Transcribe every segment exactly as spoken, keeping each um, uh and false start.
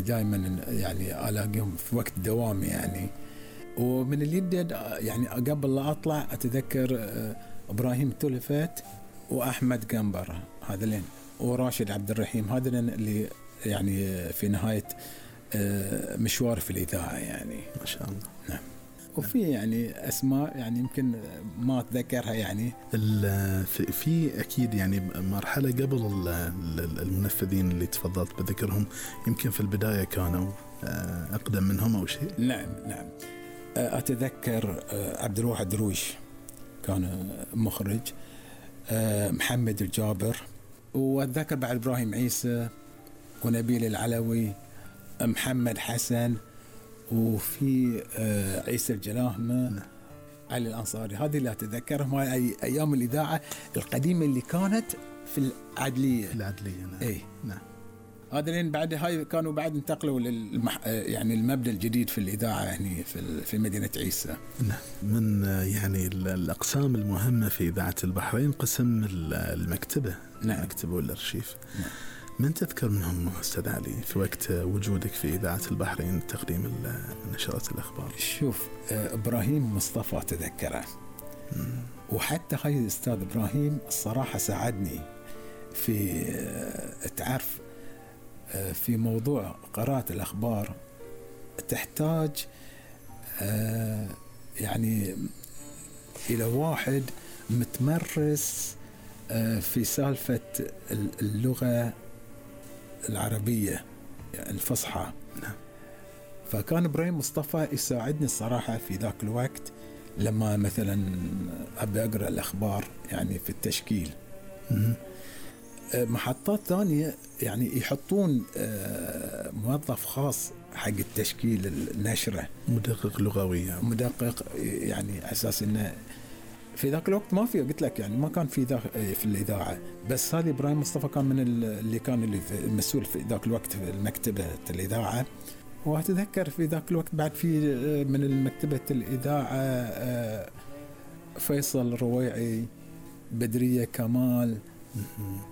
دائما يعني ألاقيهم في وقت دوامي يعني. ومن اليد يعني قبل لا أطلع أتذكر إبراهيم تولفت وأحمد قنبر هذلين وراشد عبد الرحيم، هذلين اللي يعني في نهاية مشوار في الإذاعة يعني. ما شاء الله. نعم. وفي يعني أسماء يعني يمكن ما أتذكرها يعني. في أكيد يعني مرحلة قبل المنفذين اللي تفضلت بذكرهم، يمكن في البداية كانوا أقدم منهم أو شيء. نعم نعم. أتذكر عبد الواحد درويش كان مخرج، محمد الجابر، وأتذكر بعد إبراهيم عيسى ونبيل العلوي، محمد حسن، وفي عيسى الجلاهمة، علي الأنصاري. هذه اللي أتذكرهم، هاي أيام الإذاعة القديمة اللي كانت في العدلية. في العدلية نعم. إيه نعم. هذا لين بعد هاي كانوا بعد انتقلوا للمح... يعني المبنى الجديد في الإذاعة يعني في في مدينة عيسى. نعم. من يعني الأقسام المهمة في إذاعة البحرين قسم المكتبة. نعم. المكتبة والأرشيف. نعم. من تذكر منهم أستاذ علي في وقت وجودك في إذاعة البحرين تقديم نشرات الأخبار؟ شوف إبراهيم مصطفى تذكره، وحتى هاي الأستاذ إبراهيم الصراحة ساعدني في تعرف في موضوع قراءة الأخبار، تحتاج يعني إلى واحد متمرس في سالفة اللغة العربية الفصحى. نعم. فكان إبراهيم مصطفى يساعدني الصراحة في ذاك الوقت لما مثلا أبي أقرأ الأخبار يعني في التشكيل. م- محطات ثانية يعني يحطون موظف خاص حق التشكيل النشرة، مدقق لغوي، مدقق يعني أساس إنه في ذاك الوقت ما في، قلت لك يعني ما كان في ذا في الإذاعة. بس هذا إبراهيم مصطفى كان من اللي كان اللي المسؤول في ذاك الوقت في المكتبة الإذاعة. وأتذكر في ذاك الوقت بعد في من المكتبة الإذاعة فيصل رويعي، بدرية كمال،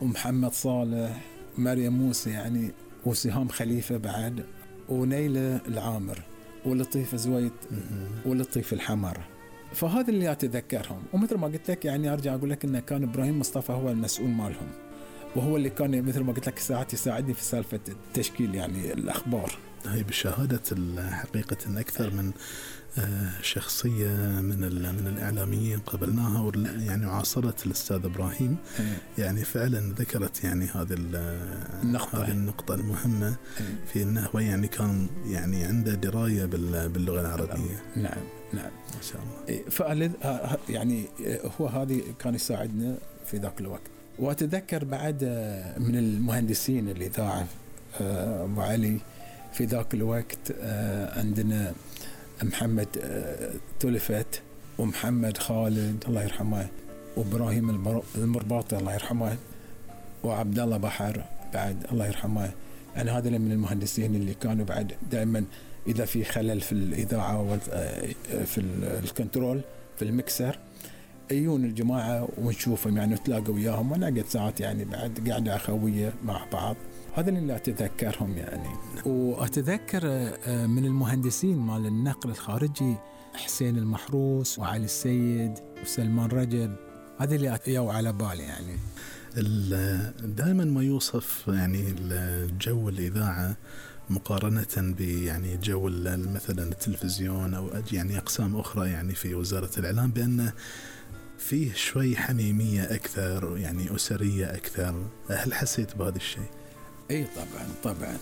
ومحمد صالح، مريم موسى يعني، وسهام خليفة بعد، ونيلة العامر، ولطيف زويد، ولطيف الحمر. فهذا اللي أتذكرهم. ومثل ما قلت لك يعني أرجع أقول لك إنه كان إبراهيم مصطفى هو المسؤول مالهم، وهو اللي كان مثل ما قلت لك ساعات يساعدني في سالفة التشكيل يعني الأخبار. هي بشهادة الحقيقة إن أكثر من شخصية من من الإعلاميين قبلناها يعني عاصرت الأستاذ إبراهيم، يعني فعلا ذكرت يعني هذه النقطة هذه النقطة المهمة في أنه هو يعني كان يعني عنده دراية باللغة العربية. نعم نعم ما شاء الله. فألذ يعني هو هذه كان يساعدنا في ذاك الوقت. وأتذكر بعد من المهندسين الإذاعة أبو علي في ذاك الوقت عندنا محمد تولفت، ومحمد خالد الله يرحمه، وإبراهيم المرباطي الله يرحمه، وعبد الله بحر بعد الله يرحمه. يعني هذا من المهندسين اللي كانوا بعد دائما إذا في خلل في الإذاعة في الكنترول في المكسر يجون الجماعة ونشوفهم يعني نتلاقى وياهم ونقعد ساعات يعني بعد قاعدة أخوية مع بعض. هذا اللي أتذكرهم يعني. وأتذكر من المهندسين مال النقل الخارجي حسين المحروس وعلي السيد وسلمان رجب، هذا اللي أتيوا على بالي يعني. دائما ما يوصف يعني الجو الإذاعة مقارنة يعني جو مثلا التلفزيون أو يعني أقسام أخرى يعني في وزارة الإعلام بأنه فيه شوي حميمية أكثر يعني أسرية أكثر. هل حسيت بهذا الشيء؟ اي طبعا طبعا.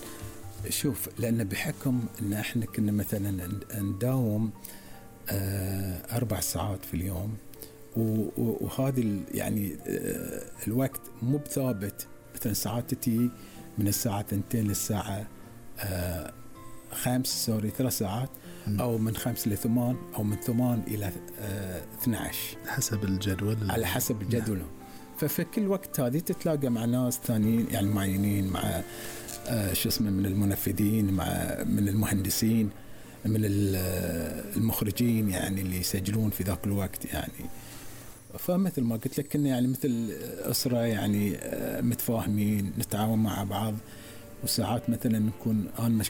شوف لأن بحكم ان احنا كنا مثلا نداوم آه اربع ساعات في اليوم، وهذه يعني آه الوقت مو بثابت، مثلا ساعات تتي من الساعة اثنتين للساعة آه خمس سوري ثلاث ساعات، او من خمس لثمان، او من ثمان الى آه اثنى عشر حسب الجدول، على حسب الجدول. نعم. ففي كل وقت هذه تتلاقى مع ناس ثانيين يعني معينين، مع آه شو اسمه من المنفذين، مع من المهندسين، من المخرجين يعني اللي يسجلون في ذاك الوقت يعني. فمثل ما قلت لك كنا يعني مثل أسرة يعني آه متفاهمين، نتعاون مع بعض. وساعات مثلا نكون أنا